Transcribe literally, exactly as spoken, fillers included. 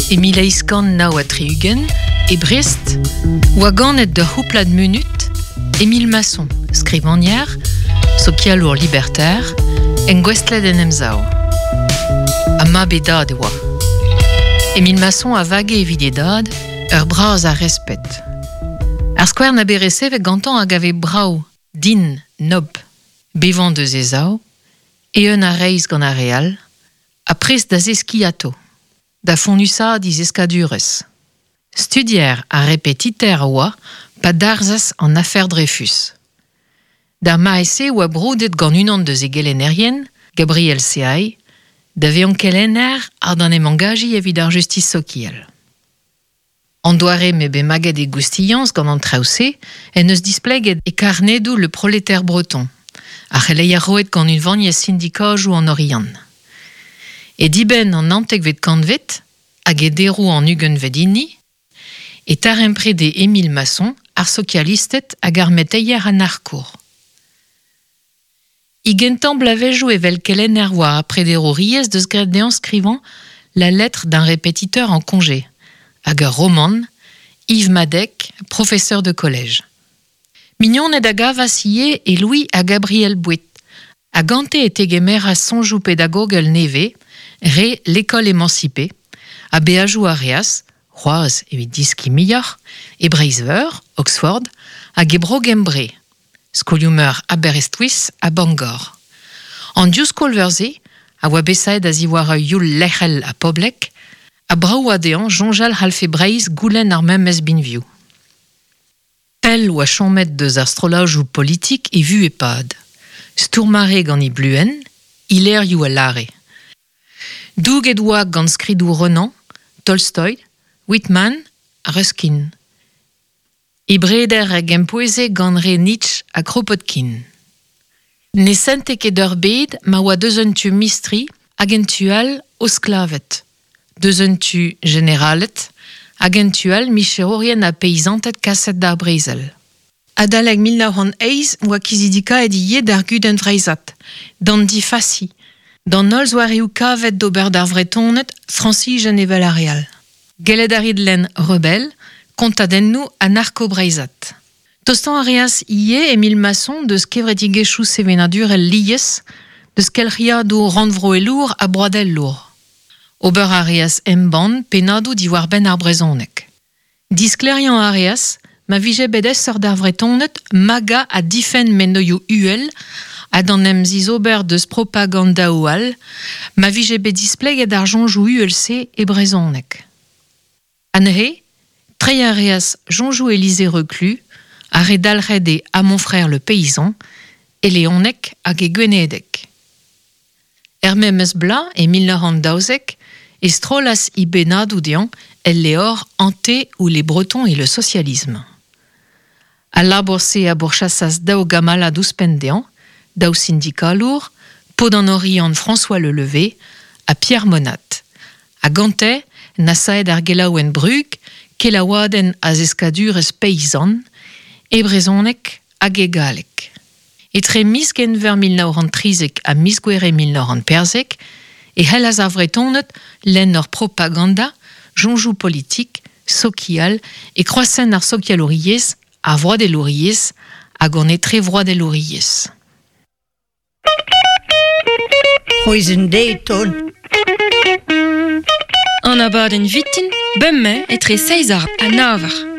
E mil eizh kant nav ha tri-ugent, e Brest, oa ganet d'ur c'houplad munut, Émile Masson, skrivagner, sokialour libertaire, engouestlet en emsav. Ha mab e dad e oa. Émile Masson a vage evit e dad ur bras a respet. Ar skouer na bet resevet gantañ hag a vez brav, din, nob, bevañ deus e zav, eeun ha reizh gant ar re all, ha prest da zeskiñ atao, da fonnusaat e zeskadurezh. Studier ha repetiter a oa pa darzhas an afer Dreyfus. D'ar mare-se oa broudet gant unan deus e gelennerien, Gabriel Seay, da vezañ kelenner ha d'an em angajiñ evit ar justis sokial. An doare m'eo bet maget e goustiañs gant an traoù-se en deus displeget e karnedoù Le Prolétaire Breton, ar c'heleier roet gant unvaniezh sindikajoù an Oriant. E dibenn an naontekvet kantved hag e deroù an ugentvet hini, e taremprede Émile Masson ar sokialisted hag ar meteier anarkour. E gentañ bloavezhioù evel kelenner war ar prederouriezh deus graet dezhañ skrivañ La lettre d'un répétiteur en congé hag ur romant, Yves Madec, professeur de collège. Mignoned a gavas ivez e Louis ha Gabriel Bouët, ha gante e tegemeras soñjoù pedagogel nevez, re l'école émancipée, ha beajoù a reas, c'hoazh evit deskiñ muioc'h, e Breizh-Veur, Oxford, hag e Bro-Gembre, skolioù-meur Aberystwyth ha Bangor. An div skol-veur-se a oa bet savet a-ziwar ur youl lec'hel ha poblek, ha brav oa dezhañ soñjal c'hallfe Breizh goulenn ar memes binvioù. Pell oa chomet deus ar strollajoù politik e vuhez pad. Stourm a rae gant e bluenn, e levrioù a lâre. Douget oa gant skridoù Renan, Tolstoy, Whitman ha Ruskin. E breder a gempoueze gant re Nietzsche ha Kropotkin. Ne sente ket ur bed ma oa deus un tu mistri hag en tu all o sklaved. Deus un tu jeneraled hag en tu all micherourien ha peizanted kaset d'ar brezel. Adalek mil nav c'hant eizh oa kizidikaet ivez d'ar gudenn vreizhat, d'an difasi, d'an holl zoareoù kavet d'ober d'ar Vretoned Frañsijen evel ar re all. Gellet a rit lenn Rebelle, kontadennoù anarko-breizhat. Tostañ a reas ivez Émile Masson deus kevredigezhioù sevenadurel lies, deus kelc'hiadoù rannvroelour ha broadelour. Ober a reas embann pennadoù diwar-benn ar brezhoneg. Disklêriañ a reas ma vije bet aesoc'h d'ar Vretoned magañ ha difenn mennozhioù uhel ha d'an em zizober deus propagandaoù all, ma vije bet displeget ar soñjoù uhel-se e brezhoneg. Anezhe, treiñ a reas soñjoù Élisée Reclus, ar re dalc'het e À mon frère le paysan, e leoneg hag e gwenedeg. Er memes bloaz, e mil nav c'hant daouzek, e strollas e bennadoù dezhañ el levr Antée ou les Bretons et le socialisme. Al labour-se a bourchasas daou gamalad ouzhpenn dezhañ, daou sindikalour, paotr an Oriant François Le Levé ha Pierre Monat. Ha gante, nasaet ar gelaouenn Brug, kelaouadenn a zeskadurezh peizant, e brezhoneg hag e galleg. Etre miz Genver mil nav c'hant trizek ha miz Gouere mil nav c'hant perzek e c'hellas ar Vretoned lenn ur propaganda, soñjoù politik, sokial e kroazenn ar sokialouriezh, ar vroadelouriezh hag an etrevroadelouriezh. C'hwezh deiz An abadenn vintin, bemdez etre seizh eur ha nav eur.